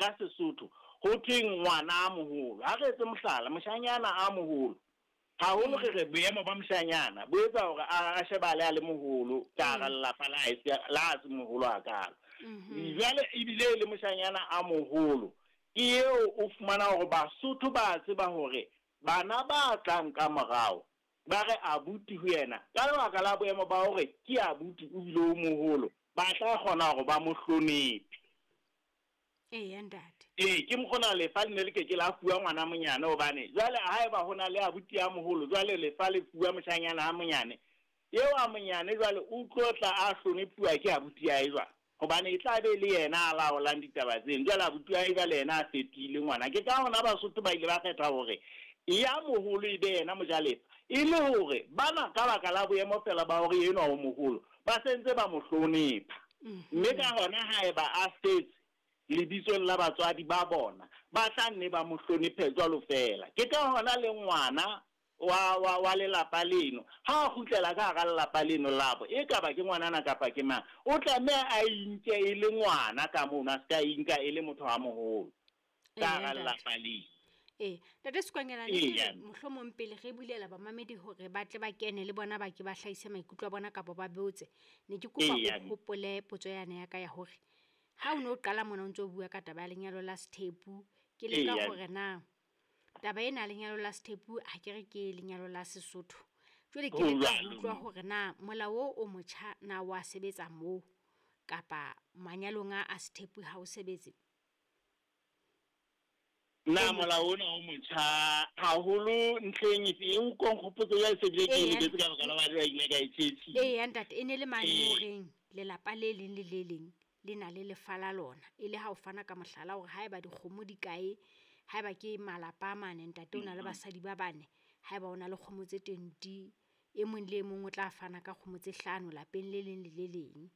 ka Sesotho ho thweng ngwana a moholo. Ha re etse mohlala, moshanyana a moholo, haholo re re boemo ba moshanyana bo etsa hore a shebahale a le moholo ka hara lelapa la hae, la ha se moholo hakalo. Jwale ebile e le moshanyana a moholo, ke eo o fumana hore Basotho ba tseba hore bana ba tlang ka morao ba re abuti ho yena ka lebaka la boemo ba hore ke abuti o bile o moholo, ba tla kgona hore ba mo hlonephe. Eya, ntate. Ee, ke mokgona lefa le ne le ke ke la fuwa ngwana monyane, hobane jwale haeba ho na le abuti a moholo, jwale lefa le fuwa moshanyana a monyane. Eo a monyane jwale o tlo tla a hlonephuwa ke abuti ya hae jwang? Hobane e tla be le yena a laolang ditaba tseno. Jwale abuti wa hae jwale yena a fetohile ngwana. Ke ka hona Basotho ba ile ba kgetha hore ya moholo e be yena mojalefa, e le hore bana ka baka la boemo feela ba hore enwa o moholo, ba sentse ba mo hlonepha. Mme ka hona haeba a setse lebitsong la batswadi ba bona, ba tla nne ba mo hlonephe jwalo feela. Ke ka hona le ngwana wa, wa, wa lelapa leno, ha a kgutlela ka hara lelapa leno labo, e kaba ke ngwanana kapa ke mang, o tlameha a inke e le ngwana ka mono, a se ka inka e le motho a moholo ka hara lelapa leno. Ee, Ntate Sekwanyana, ne ke re mohlomong pele re bulela bamamedi hore ba tle ba kene le bona ba ke ba hlahise maikutlo a bona kapa ba botse, ne ke kopa o hopole potso yane ya ka ya hore ha o ne o qala mona o ntso bua ka taba ya lenyalo la sethepu, ke leka hore na taba ena ya lenyalo la sethepu ha ke re ke lenyalo la Sesotho. Jwale ke leka ho utlwa hore na molao o o motjha na wa sebetsa moo kapa manyalong a sethepu ha o sebetse. Na molao ona o motjha haholo ntlheng efe? E o ko nkgopotse jwale se bile ke e lebetse ka baka la hobane jwale ke ile ka e tjhetjhisa. Eya ntate, e ne le mane mo reng lelapa le leng le le leng le na le lefa la lona. E le ha o fana ka mohlala hore haeba dikgomo di kae, haeba ke malapa a mane, ntate o na le basadi ba bane, haeba o na le kgomo tse 20, e mong le e mong o tla fana ka kgomo tse 5 lapeng le leng le le leng.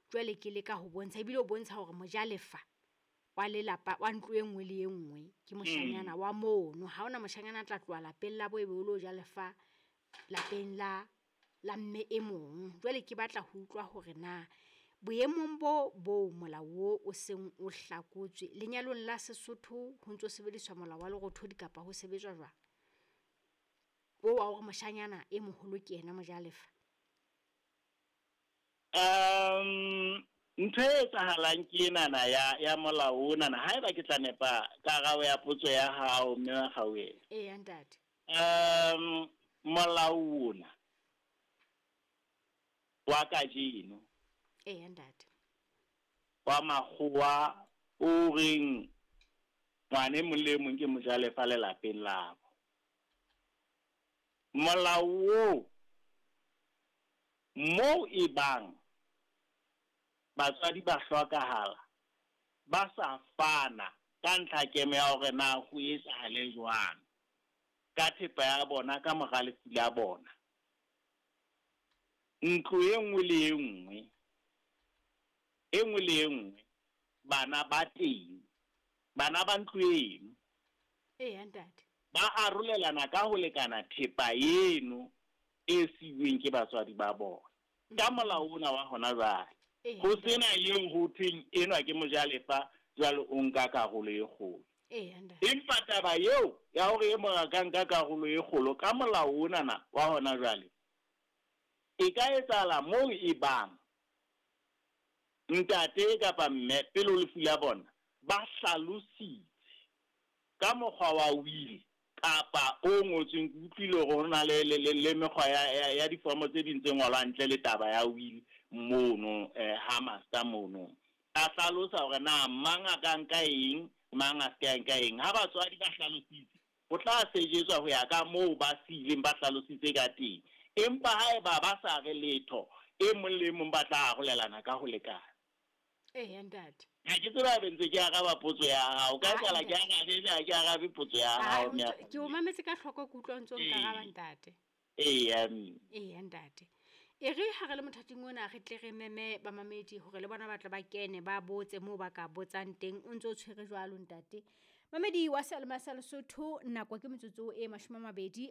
Jwale ke leka ho bontsha, ebile o bontsha hore mojalefa wa lelapa wa ntlo e nngwe le e nngwe ke moshanyana wa mono. Ha hona moshanyana a tla tloha lapeng la bo ebe o lo ja lefa lapeng la mme e mong. Jwale ke batla ho utlwa hore na boemong bo bo molao o o seng o hlakotswe lenyalong la Sesotho ho ntso sebediswa molao wa lerothodi kapa ho sebetswa jwang? O wa hore moshanyana e moholo ke yena mojalefa. Ntho e etsahalang ke enana ya molao onana, haeba ke tla nepa karabo ya potso ya hao mme wa Kgauhelo. Eya ntate. Molao ona wa kajeno. Eya ntate. Wa makgowa o reng ngwana e mong le e mong ke mojalefa lelapeng labo. Molao oo moo e bang batswadi ba hlokahala ba sa fana ka ntlha kemo ya hore na ho etsahale jwang ka thepa ya bona ka mora lefu la bona. Ntlo e nngwe le e nngwe, e nngwe le e nngwe, bana ba teng, bana ba ntlo eno. Eya ntate. Ba arolelana ka ho lekana thepa eno e siuweng ke batswadi ba bona. Ka molao ona wa hona jwale. Ho sena eo ho thweng enwa ke mojalefa jwale o nka karolo e kgolo. Empa taba eo ya hore e mong a ka nka karolo e kgolo ka molao onana wa hona jwale, e ka etsahala moo e bang ntate kapa mme pele ho lefu la bona ba hlalositse ka mokgwa wa will kapa o ngotsweng. Ke utlwile hore ho na le mekgwa ya difomo tse ding tse ngolwang ntle le taba ya will mono, ha master mono a hlalosa hore na mang a ka nka eng, mang a se ka nka eng. Ha batswadi ba hlalositse, ho tla sejetswa ho ya ka moo ba siileng ba hlalositse ka teng. Empa haeba ba sa re letho, e mong le mong ba tla arolelana ka ho lekana. Eya ntate. Ha ke tsebe haebe ntse ke araba potso ya hao. Ka etsahala ke arabe, ebe ha ke arabe potso ya hao. Ke o mametse ka hloko, ke utlwa ntse o nkaraba ntate. Eya mme. Eya ntate. E re ha re le mothating ona re tle re meme bamamedi hore le bona ba tle ba kene ba botse moo ba ka botsang teng. O ntse o tshwere jwalo ntate. Mamedi wa Seyalemoya sa Lesotho, nako ke metsotso e 22,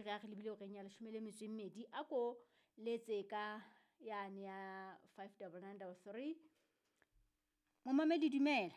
re a re lebile horeng ya 12. A ko letse ka yane ya 59933. Momamedi dumela.